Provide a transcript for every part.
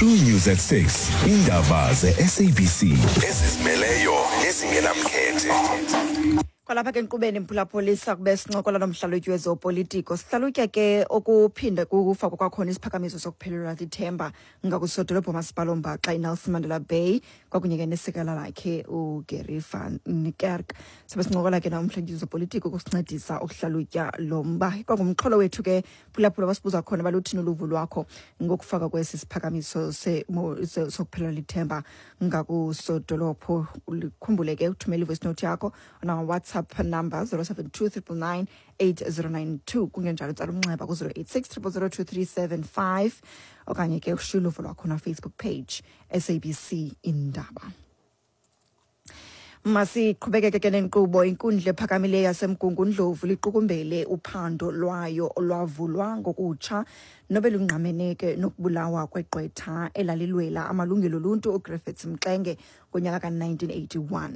True News at 6. Indaba ze-SABC ezizimeleyo nezingenamkhethe. Kwalapha ke enkqubeni, mphulaphuli, kube sincokola nomhlalutyi wezopolitiko. Sihlalutya ke okuphinda kufakwa kwakhona isiphakamiso sokuphelelwa lithemba ngakusodolophu masipala ombaxa iNelson Mandela Bay kwakunye ke nesekela lakhe uGary van Niekerk. Sabe sincokola ke namhlanje wezopolitiko ukusincedisa ukuhlalutya lo mba. Kwangumxholo wethu ke, phulaphula, basibuza khona baluthini uluvo lwakho ngokufaka kwesi siphakamiso sokuphelelwa lithemba ngakusodolophu. Ukhumbule ke uthumela ivoice note yakho on WhatsApp number 072 999 8092, kungenjalo tsala umnxeba ku-086 000 2375, okanye ke ushiye uluvo lwakho na-Facebook page SABC Indaba. Masiqhubekeke ke nenkqubo. Inkundla ephakamileyo yaseMgungundlovu liqukumbele uphando lwayo olwavulwa ngokutsha nobe lungqamene ke nokubulawa kwegqwetha elalilwela amalungelo oluntu uGriffiths Mxenge ngonyaka ka-1981.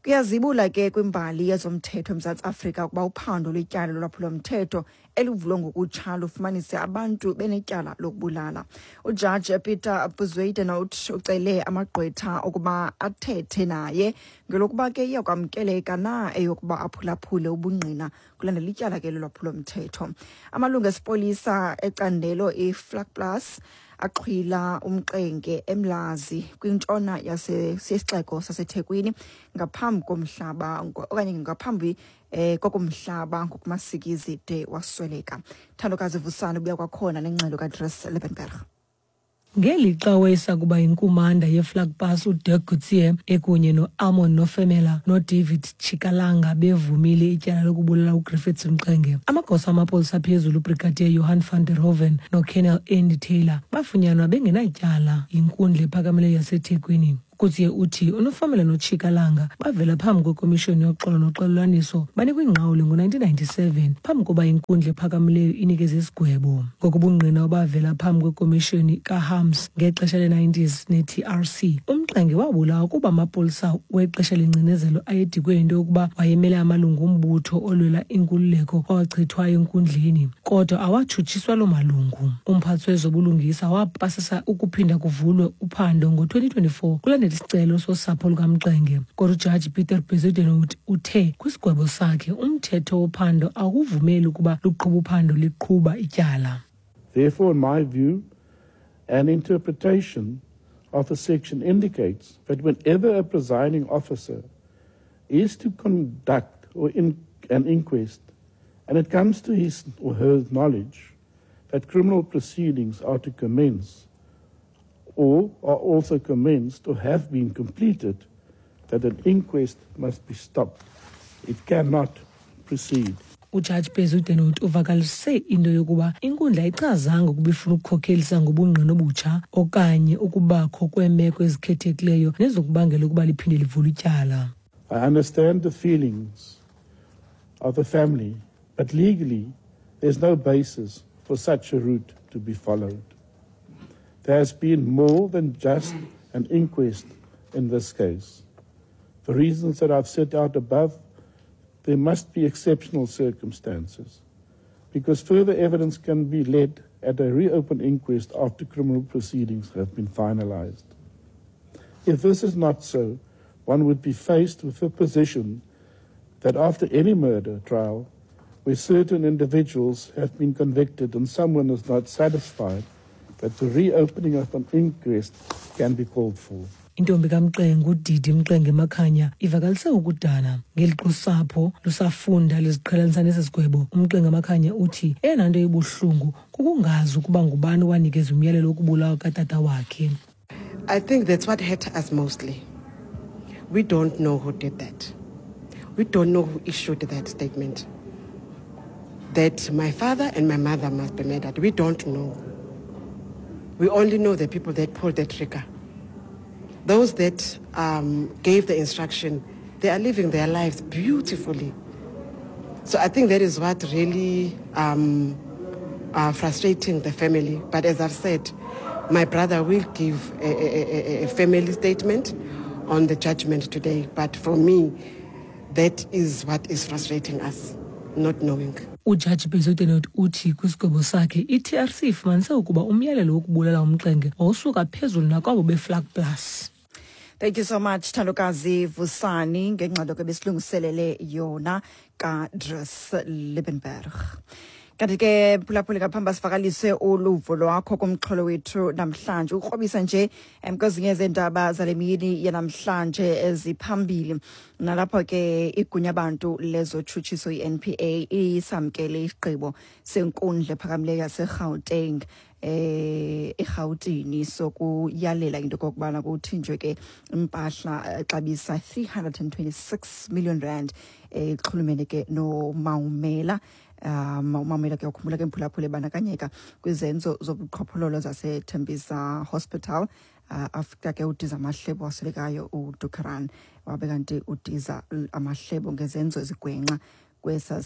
Kuyazibula ke kwimbali yezomthetho eMzantsi Afrika ukuba uphando lwetyala lolwaphulomthetho elivulwe ngokutsha lufumanise abantu benetyala lokubulala. Ujaji Peter Bezuidenhout ucele amagqwetha ukuba athethe naye ngelokuba ke iyakwamkeleka na eyokuba aphulaphule ubungqina kulandela ityala ke lolwaphulomthetho. Amalungu esipolisa ecandelo iVlakplaas axhwila uMxenge eMlazi kwintshona yesixeko saseThekwini ngaphambi komhlaba okanye ngaphambi kokumhlaba ngokumasikizi de wasweleka. Thandokazi Vusana ubuya kwakhona nengxelo kaDres Liebenberg. Ngelixa wayesakuba yinkumanda yeVlakplaas uDirk Coetzee ekunye no-Amon Nofemela noDavid Chikalanga bevumile ityala lokubulala uGriffiths Mxenge, amagosa amapolisa aphezulu uBrigadier Johan van der Hoven noColonel Andy Taylor bafunyanwa bengenatyala yinkundla ephakamileyo yaseThekwini. Coetzee uthi uNofemela noChikalanga bavela phambi kwekomishoni yoxolo noxolelwaniso banikwa ingqawule ngo-1997 phambi koba inkundla ephakamileyo inikeze isigwebo. Ngokubungqina obavela phambi kwekomishoni kaHarms ngexesha le-90s ne-TRC, uMxenge wabulawa kuba amapolisa wexesha lengcinezelo ayedikwe yinto yokuba wayemele amalungu ombutho olwela inkululeko awachithwayo enkundleni, kodwa awatshutshiswa loo malungu. Umphathi wezobulungisa wapasisa ukuphinda kuvulwe uphando ngo-2024 kulandela isicelo sosapho lukaMxenge, kodwa ujaji Peter Bezuidenhout uthe kwisigwebo sakhe umthetho wophando awuvumeli ukuba luqhuba uphando liqhuba ityala. Therefore, in my view, an interpretation of the section indicates that whenever a presiding officer is to conduct or in an inquest and it comes to his or her knowledge that criminal proceedings are to commence or are also commenced or have been completed, that an inquest must be stopped. It cannot proceed. Ujaji Bezuidenhout uvakalise into yokuba inkundla ayichazanga ukuba ifuna ukukhokhelisa ngobungqina obutsha okanye ukubakho kweemeko ezikhethekileyo nezokubangela ukuba liphinde livule ityala. I understand the feelings of the family, but legally there's no basis for such a route to be followed. There has been more than just an inquest in this case. For reasons that I've set out above, there must be exceptional circumstances, because further evidence can be led at a reopened inquest after criminal proceedings have been finalized. If this is not so, one would be faced with the position that after any murder trial, where certain individuals have been convicted and someone is not satisfied, that the reopening of an inquest can be called for. Intombi kaMxenge uDidi Mxenge Makhanya ivakalise ukudana ngelixa usapho lusafunda liziqhelanisa nesi sigwebo. UMxenge Makhanya uthi eyona nto ibuhlungu kukungazi ukuba ngubani owanikeza umyalelo wokubulawa katata wakhe. I think that's what hurt us mostly. We don't know who did that. We don't know who issued that statement that my father and my mother must be murdered. We don't know. We only know the people that pulled the trigger. Those that gave the instruction, they are living their lives beautifully. So I think that is what really frustrating the family. But as I've said, my brother will give a family statement on the judgment today. But for me, that is what is frustrating us, not knowing. Ujaji Bezuidenhout uthi kwisigwebo sakhe i-TRC ifumanise ukuba umyalelo wokubulala uMxenge wawusuka phezulu nakwabo beVlakplaas. Thank you so much, Thandokazi Vusani, ngengxelo ke besilungiselele yona kaDries Liebenberg. Kanti ke, phulaphuli, ngaphambi sivakalise uluvo lwakho kumxholo wethu namhlanje, ukrobisa nje kwezinye zeendaba zale mini yanamhlanje eziphambili, nalapho ke igunya bantu lezotshutshiso i-NPA isamkele isigqibo senkundla ephakamileyo yaseGauteng, eRhawutini, sokuyalela into okokubana kuthinjwe ke impahla exabisa 326 million rand exhulumene ke noMaumela. UMaumela ke, ukhumbula ke mphulaphula, ebandakanyeka kwizenzo zobuqhophololo zaseTembisa Hospital, after ke udiza amahlebo waswelekayo uDukaran, wabe kanti udiza amahlebo ngezenzo ezigwenxa kwesa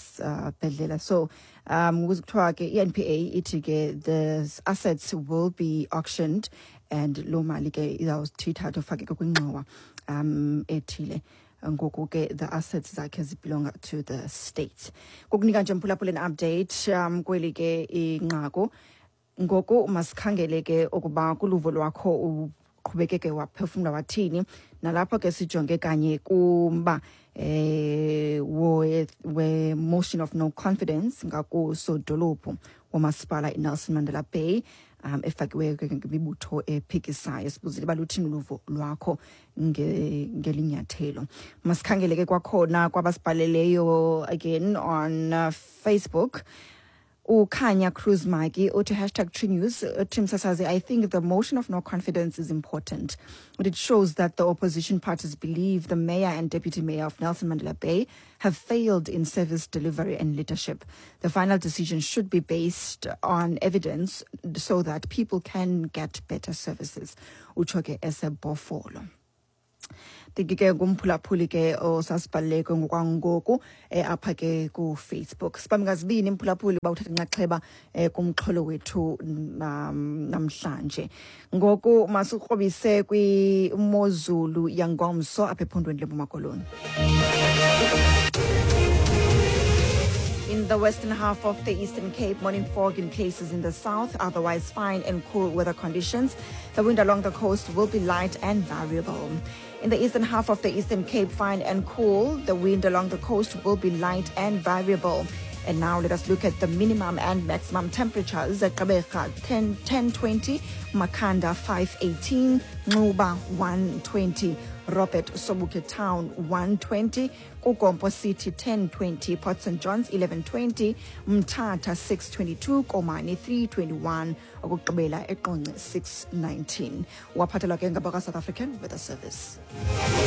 bhedlela. So kuthiwa ke i-NPA ithi ke the assets will be auctioned and loo mali ke izawuthi ithathwe ufake ke kwingxowa ethile. Ngoku ke the assets zakhe zibelonga to the state. Kukunika nje mphulaphula an update kweli ke inqaku. Ngoku masikhangele ke ukuba kuluvo lwakho uqhubekeke waphefumla wathini, nalapho ke sijonge kanye kumba we motion of no confidence ngakusodolophu womasipala iNelson Mandela Bay, efakiweyo ke ngemibutho ephikisayo. Sibuzile uba luthini uluvo lwakho ngelinyathelo. Masikhangele ke kwakhona kwabasibhaleleyo again on Facebook. Ukhanya Cruz Maki uthi #TrueNews, uthi, "Msasazi, I think the motion of no confidence is important, but it shows that the opposition parties believe the mayor and deputy mayor of Nelson Mandela Bay have failed in service delivery and leadership. The final decision should be based on evidence so that people can get better services." Utsho ke eseBhofolo. Thank ke ngumphulaphuli ke osasibhaleke ngokwangoku apha ke kuFacebook. Sibambe ngazibini mphulaphuli uba uthatha inxaxheba kumxholo wethu namhlanje. Ngoku masikrobise kwimozulu yangomso apha ephondweni leMpuma Koloni. In the western half of the Eastern Cape, morning fog in places in the south, otherwise fine and cool weather conditions. The wind along the coast will be light and variable. In the eastern half of the Eastern Cape, fine and cool. The wind along the coast will be light and variable. And now let us look at the minimum and maximum temperatures. At Gqeberha 10, 1020, Makhanda 518, Nxuba 120, Robert Sobukwe Town 120, KuGompo City 1020, Port St Johns 1120, Mthatha 622, Komani 321, okugqibela eQonce 619. Waphathelwa ke ngabakwa South African Weather Service.